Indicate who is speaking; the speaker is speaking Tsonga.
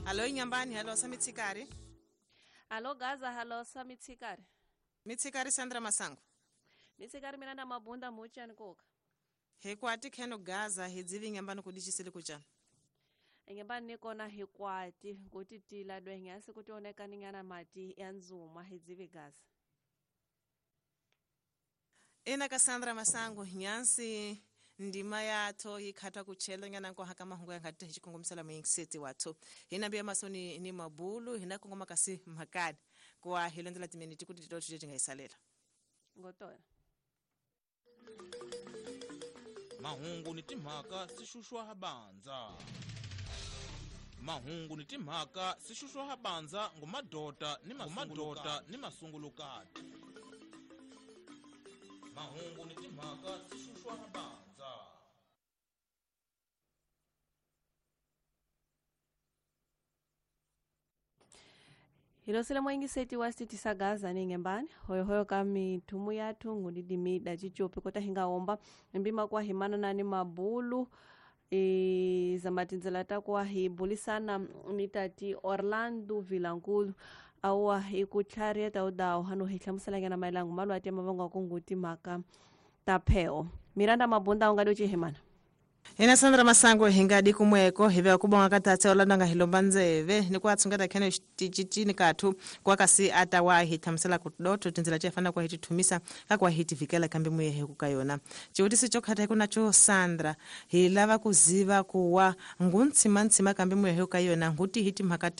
Speaker 1: Halo inyambani, halo sa mitsikari.
Speaker 2: Halo Gaza, halo sa mitsikari.
Speaker 1: Mitsikari Sandra Masango.
Speaker 2: Mitsikari mina na mabunda muchani koka.
Speaker 1: Hikwati kheno Gaza hidzivi nyambani kudichisele kuchana.
Speaker 2: Ngembani nikona hikwati ngutitila dwengasi kutioneka ningana mati ya nzuma hidzivi Gaza.
Speaker 1: Ina ka Sandra Masango nyansi ndima yatho yikhatha kuchela nyana nko haka mahungu ya ngati hichikongomisela muyingiseti watho hina mbiya masoni ni mabulu hina kongoma kasi mhakani kwa hilondzela timiniti kuti tito tingayisalela
Speaker 2: ngotona
Speaker 3: mahungu ni timhaka sixuxwa habanza mahungu ni timhaka sixuxwa habanza ngumadota ni mamadota ni masungulukati mahungu ni timhaka sixuxwa habanza.
Speaker 2: Hilosile mwingiseti wa siti sa Gaza ningembani hoyohoyo kami tumu yathu ngudidimida chichopi kota hingaomba mbima kwa himana nani mabulu zamatindzela takuwa hibulisana ni tati Orlando Vilankulu awa ikutlharieta udawo hano hi hlamuselanyana mayelango malwati ya mavongo kunguti mhaka ta pheo Miranda Mabunda ungadi uchihimana.
Speaker 1: Ina Sandra Masango hingadi kumweko hive kubonga katatse Orlando nga hilomba ndzeve ni kwa tsungata khene xiticitini kathu kwa kasi atawa hi thamusela ku dotho tindzela chefana kwa hitithumisa ka kwa hitivikela kambe muyehe ku ka yona xivutiso xo khatha ku nacho Sandra hi lava ku ziva kuwa nguntshima ntshima kambe muyehe ka yona nguti hi timhaka